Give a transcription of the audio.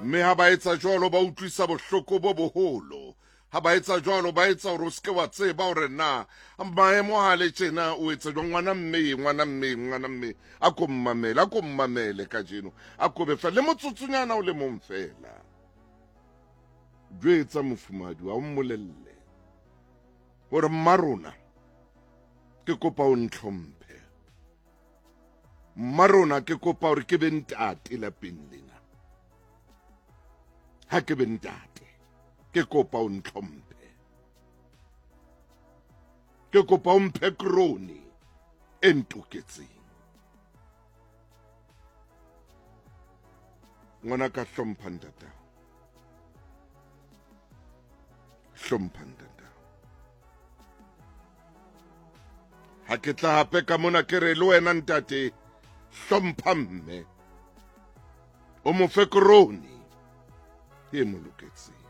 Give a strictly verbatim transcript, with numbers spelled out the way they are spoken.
Mme ha ba etsa jwalo ba utlwisa bohloko bo boholo. Ha ba etsa jwalo ba etsa hore o seke wa tseba hore na maemo ha le tjena o etsa jwang. Ngwana mme, ngwana mme, ngwana mme, a ko mmamele, a ko mmamele kajeno, a ko be fela le motsotsonyana o le mong fela. Jwetsa mofumahadi wa o mmolelle hore mma rona ke kopa o ntlhomphe, mma rona ke kopa hore ke be ntate lapeng lena. Ha ke be ntate, ke kopa o ntlhomphe, ke kopa o mphe krone e ntoketseng. Ngwana ka, hlompha ntatao, hlompha ntatao. Ha ke tla hape ka mona ke re le wena ntate, hlompha mme, o mo fe krone e mo loketseng.